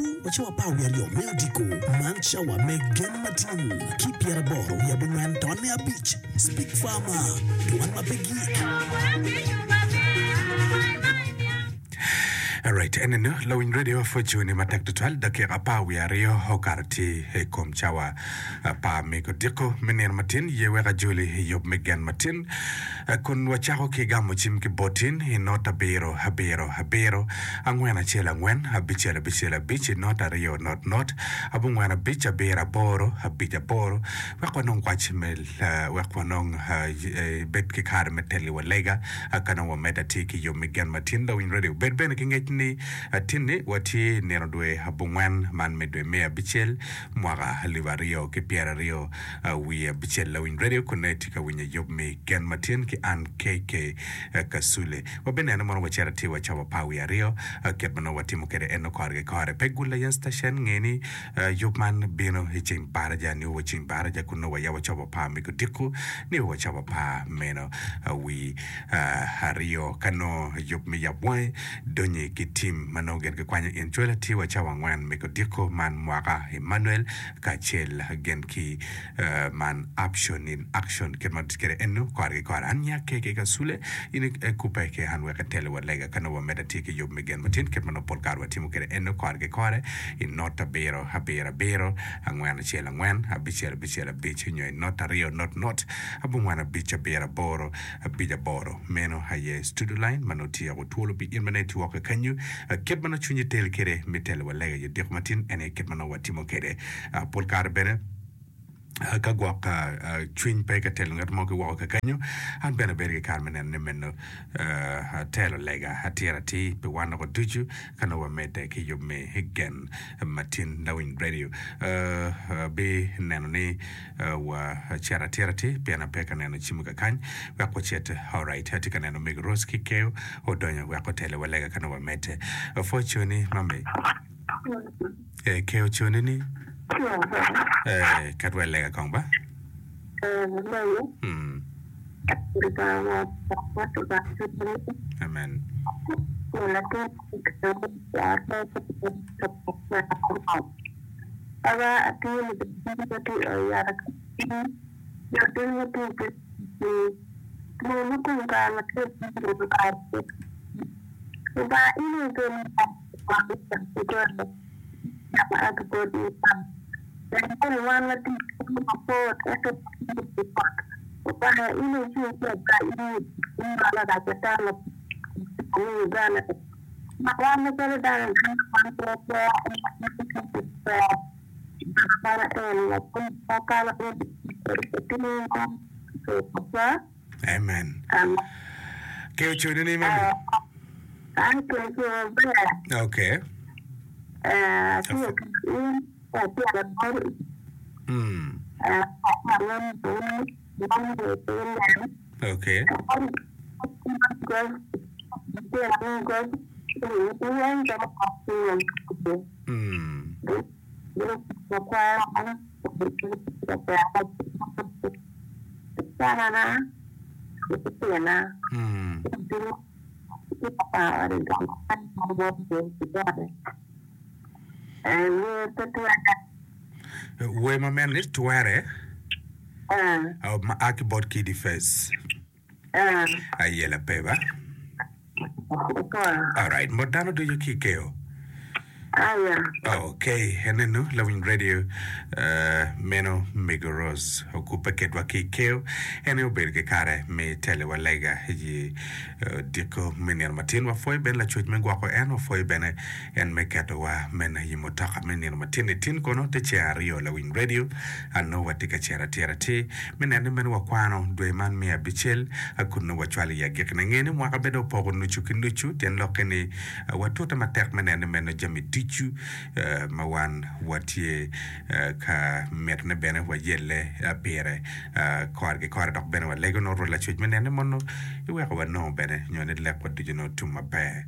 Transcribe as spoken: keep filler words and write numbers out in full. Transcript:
Wa cawa apar wiye aryo me odiko, man cawa me Gen Matin ki pyeraboro wiye abongwen tonne abic, Speak Farmer, dwan ma pe gik. Alright, enenu lawiny radio pwoconi matek tutwal dakika apar wiye aryo okato tye i kom cawa apar me odiko me nino matin ye wek ajoli i yub me gen matin kun wacako ki gamo cim ki botin i not abiro abiro abiro angwen acel angwen abicel abicel abic i not aryo not not abongwen abic abiro aboro abic aboro wek wanong kwac me wek wanong bed ki kare me teli wa lega ka nongo wamedde atir ki yub me gen ma tin lawiny radio bed bene ki ngec ni tin-ni watye i nino dwe abongwen man me dwe me abicel mwaka alip aryo ki pyeraryo wiye abicel lawiny radio kun nongo itye ka winyo yub me gen ma tin ki an K K Kasule. Wabineno mono wacito atir wa cawa apar wiye aryo kit ma nongo watimo kwede eno kore ki kore. Pe gul aye citecen nge ni yub man bino i ceng baraja nio wa ceng baraja kun nongo wayabo cawa apar me odiko nio wa cawa apar meno wi aryo ka nongo yub me yab wangi donyi ki tim ma nongo gin gikwanyo in cwal atir wa cawa angwen me odiko man mwaka Emmanuel kacel gin ki man Option in Action kit ma tye kwede eno kore ki kore. An nya K K Kasule in ikubbe ki an wek iteli wa lega ka nongo wamedde atir ki yub me gen matin kit ma nongo pol kare watimo kwede eno kore ki kore i not abiro abiro abiro angwen acel angwen abicel abicel abic nyo i not aryo not not abongwen abic abiro aboro abic aboro. Meno aye studio line ma nongo tye twolo pi in ma nongo itye woko kenyo. Kit ma nongo cwinyi tel kwede me telo wa lega i odiko matin en aye kit ma nongo watimo kwede. Pol kare bene ka gwok cwiny pe ka telo ngat mo ki woko kakenyo, an bene abedo ki kare me neno ni meno atelo lega atir atir pi wan woko ducu ka nongo wamedde ki yub me gen matin. Lawiny radio bineno ni wacito atir atir pien ape ka neno cimo kakany wek wacit. Alright, atye ka neno Omego Rose ki Keo odonyo wek otele wa lega ka nongo wamedde. Pwoconi mami. Eh, Keo coni ni. Eh, ket wa i lega kong ba. Mm. Amen. Amen. Keo coni ni mami. Okay. Mm. Okay. Mm. Mm. Wer ma meno ni twere ma a ki bot Kidi Face ayela pe ba. Alright, mot dano ducu ki keo. Okay, enenu lawiny radio uh, meno Mego Rose okubbe kedwa ki keo. En aye obedo ki kare me tele wa lega i uh, diko me nino matin. Wapwoyo bene lacwec me gwoko en, wapwoyo bene en me ketowa meno i mutoka me nino matin. I tin kono te ceng aryo lawiny radio anongo watye ka cito atir atir me neno ni meno wakwano dwe man me abicel kun nongo wacwalo i agikine. Nge ni mwaka bene opoko nucu ki nucu tyen lokke ni watute matek me neno ni meno jami ducu ma wan watye ka mitone bene wayelle pire kore ki kore dok bene walego nongo Rwot Lacwec me neno ni mono iweko wanongo bene nyo ni lekwa ducu nongo tum maber.